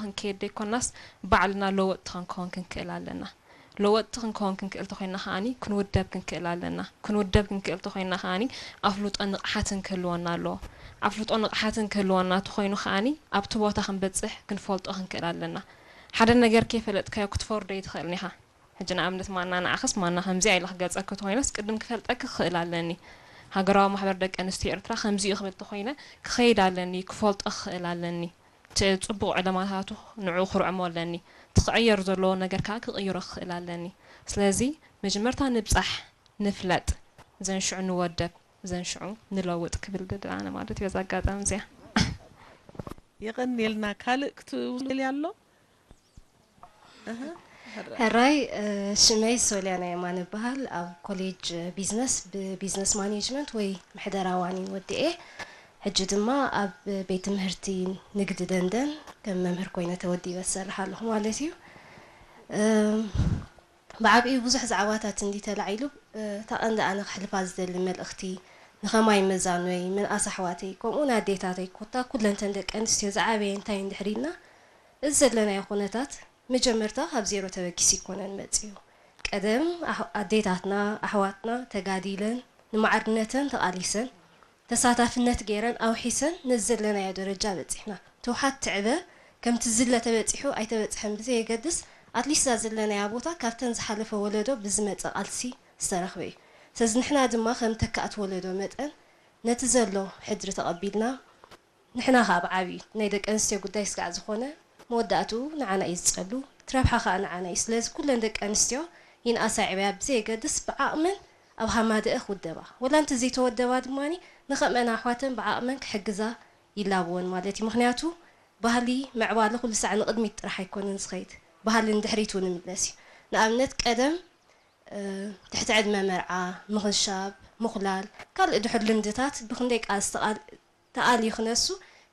ክንከይድ ዘይኮናስ ባዕልና ለወጥቲ ክንከውን ክንክእል ኣለና። ለወጥቲ ክንከውን ክንክእል ተኮይና ከዓኒ ክንውደብ ክንክእል ኣለና። ክንውደብ ክንክእል ተኮይና ከዓኒ ኣፍልጦ ንቕሓትን ክህልወና ኣለዎ። ኣፍልጦ ንቕሓትን ክህልወና ተኮይኑ ከዓኒ ኣብቲ ቦታ ክንበጽሕ ክንፈልጦ ክንክእል ኣለና። ሓደ ነገር ከይፈለጥካዮ ክትፈርዶ ኣይትኽእልን ኢኻ። ሕጂ ንኣብነት ማና ንዓኽስ ማና ከምዚኣ ኢለ ክገልጸኪ ተኾይነስ ቅድም ክፈልጠኪ ክኽእል ኣለኒ። ሃገራዊ ማሕበር ደቂ ኣንስትዮ ኤርትራ ከምዚ እዩ ክብል ተኾይነ ክኸይድ ኣለኒ፣ ክፈልጦ ክኽእል ኣለኒ። እቲ ጽቡቕ ዕለማታቱ ንዕኡ ክርዕሞ ኣለኒ። እቲ ክዕየር ዘለዎ ነገር ከኣ ክቕይሮ ክኽእል ኣለኒ። ስለዚ መጀመርታ ንብጻሕ፣ ንፍለጥ፣ ዘንሽዑ ንወደብ፣ ዘንሽዑ ንለውጥ ክብል ድል ኣነ ማለት እዩ በዛ ኣጋጣሚ እዚኣ። የቐንየልና። ካልእ ክትውልያ ኣሎ? ሕራይ፣ ሽመይ ሶልያና የማነ እበሃል። ኣብ ኮሌጅ ቢዝነስ ብቢዝነስ ማኔጅመንት ወይ ምሕደራ ዋኒን ወዲኤ። ሕጂ ድማ ኣብ ቤት ትምህርቲ ንግዲ ደንደን ከም መምህር ኮይነ ተወዲበ ዝሰርሕ ኣለኹ ማለት እዩ። ብዓብኡ ብዙሕ ዛዕባታት እንዲ ተላዒሉ፣ እታ ቀንዲ ኣነ ክሕልፋ ዝደሊ መልእኽቲ ንኸማይ መዛኖይ፣ ምንኣስ ኣሕዋተይ፣ ከምኡ ንኣዴታተይ፣ ኮታ ኩለንተን ደቂ ኣንስትዮ ዝዓበየ እንታይ እንድሕር ኢልና፣ እዚ ዘለናዮ ኩነታት መጀመርታ ካብ ዜሮ ተበጊሱ ኣይኮነን መጺኡ። ቀደም ኣዴታትና ኣሕዋትና ተጋዲለን ንማዕርነተን ተቓሊሰን ተሳታፍነት ገይረን ኣውሒሰን ነዚ ዘለናዮ ደረጃ በጺሕና። እቲ ውሓት ትዕበ ከምቲ ዝለ ተበጺሑ ኣይተበጽሐን ብዘየገድስ ኣትሊስት እዛ ዘለናያ ቦታ ካብተን ዝሓለፈ ወለዶ ብዝመጸ ቃልሲ ዝተረኽበ እዩ። ስለዚ ንሕና ድማ ከም ተካእቲ ወለዶ መጠን ነቲ ዘሎ ሕድሪ ተቐቢልና ንሕና ከኣ ብዓብዩ ናይ ደቂ ኣንስትዮ ጉዳይ ስጋዕ ዝኾነ መወዳእትኡ ንዓና እዩ ዝጸሉ፣ እቲ ረብሓ ከኣ ንዓና እዩ። ስለዚ ኩለን ደቂ ኣንስትዮ ይንኣሳ ይዕበያ ብዘየገድስ ብዓቕመን ኣብ ሃማደአ ክውደባ፣ ወላ እንተ ዘይተወደባ ድማ ንኸምአን ኣሕዋተን ብዓቕመን ክሕግዛ ይላበወን ማለት እዩ። ምኽንያቱ ባህሊ ምዕባለ ኩሉ ሳዕ ንቕድሚት ጥራሕ ኣይኮነን ዝኸይድ፣ ባህሊ ንድሕሪት እውን ይምለስ እዩ። ንኣብነት ቀደም ትሕቲ ዕድመ መርዓ፣ ምኽንሻብ፣ ምኹላል፣ ካልእ ድሑር ልምድታት ብኽንደይ ቃልሲ ተቓል ተኣልዩ ክነሱ፣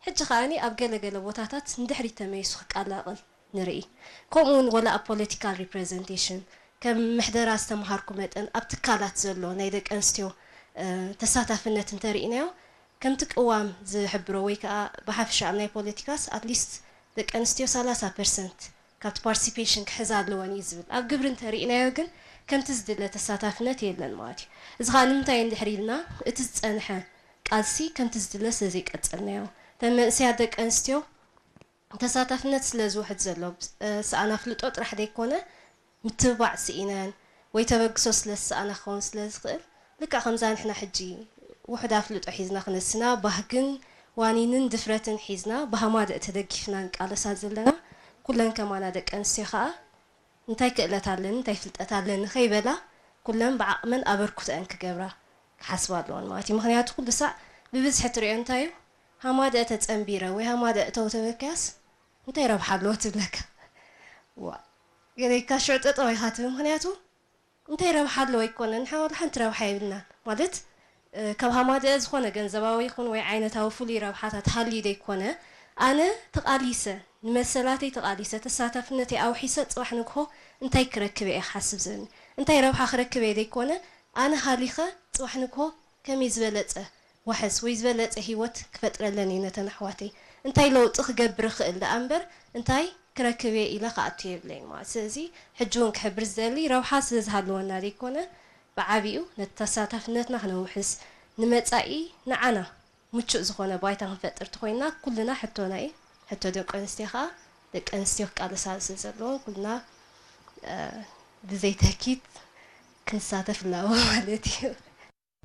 ሕጂ ከኣኒ ኣብ ገለ ገለ ቦታታት ንድሕሪት ተመሊሱ ክቀላቕል ንርኢ። ከምኡ እውን ወላ ኣብ ፖለቲካል ሪፕረዘንቴሽን፣ ከም ምሕደራ ዝተምሃርኩ መጠን ኣብ ትካላት ዘሎ ናይ ደቂ ኣንስትዮ ተሳታፍነት እንተርኢናዮ፣ ከምቲ ቅዋም ዝሕብሮ ወይ ከዓ ብሓፈሻ ኣብ ናይ ፖለቲካስ ኣትሊስት ደቂ ኣንስትዮ ሰላሳ ፐርሰንት ካብቲ ፓርቲሲፔሽን ክሕዛ ኣለወን እዩ ዝብል። ኣብ ግብሪ እንተርኢናዮ ግን ከምቲ ዝድለ ተሳታፍነት የለን ማለት እዩ። እዚ ከዓ ንምንታይ እንድሕር ኢልና እቲ ዝፀንሐ ቃልሲ ከምቲ ዝድለ ስለዘይቀጸልናዮ፣ እተን መንእሰያት ደቂ ኣንስትዮ ተሳታፍነት ስለዝውሕድ ዘሎ፣ ሰኣን ኣፍልጦ ጥራሕ ዘይኮነ፣ ምትብባዕ ስኢነን ወይ ተበግሶ ስለዝሰኣና ክኸውን ስለዝኽእል፣ ልክዕ ከምዛ ንሕና ሕጂ ውሑድ ኣፍልጦ ሒዝና ክነስና፣ ባህግን ዋኒንን ድፍረትን ሒዝና ብሃማደእ ተደጊፍና ንቃለሳ ዘለና፣ ኩለን ከማና ደቂ ኣንስትዮ ከኣ እንታይ ክእለት ኣለኒ እንታይ ፍልጠት ኣለኒ ከይበላ ኩለን ብዓቕመን ኣበርክቶአን ክገብራ ክሓስባ ኣለወን ማለት እዩ። ምኽንያቱ ኩሉ ሳዕ ብብዝሒ ትሪኦ እንታይ እዩ ሃማደአ ተፀንቢረ ወይ ሃማደአ እተው ተበልካያስ እንታይ ረብሓ ኣለዎ ትብለካ። ዋ ገለካ ሽዑ ጠጠው ኢኻ ትብል። ምኽንያቱ እንታይ ረብሓ ኣለዎ ኣይኮነን፣ ንሕና ወላ ሓንቲ ረብሓ የብልናን ማለት ካብ ሃማደአ ዝኾነ ገንዘባዊ ይኹን ወይ ዓይነታዊ ፍሉይ ረብሓታት ሃልዩ ዘይኮነ ኣነ ተቓሊሰ ንመሰላተይ ተቓሊሰ ተሳታፍነተይ ኣውሒሰ ፅባሕ ንግሆ እንታይ ክረክብ እየ ክሓስብ ዝብኒ እንታይ ረብሓ ክረክብ እየ ዘይኮነ ኣነ ሃሊኸ ፅባሕ ንግሆ ከመይ ዝበለፀ ዋሕስ ወይ ዝበለፀ ሂወት ክፈጥረለን እየ ነተን ኣሕዋተይ እንታይ ለውጢ ክገብር እኽእል ደኣ እምበር እንታይ ክረክብ እየ ኢለ ክኣቱ የብለይን ማለት ስለዚ ሕጂ እውን ክሕብር ዝደሊ ረብሓ ስለ ዝሃለወና ዘይኮነ ብዓቢኡ ነቲ ተሳታፍነትና ክነውሕስ ንመፃኢ ንዓና ምቹእ ዝኾነ ባይታ ክንፈጥር ተኾይንና ኩልና ሕቶና እዩ ሕቶ ደቂ ኣንስትዮ ከዓ ደቂ ኣንስትዮ ክቃለሳሉ ስለ ዘለዎን ኩልና ብዘይተኪት ክንሳተፍ ኣለዎ ማለት እዩ።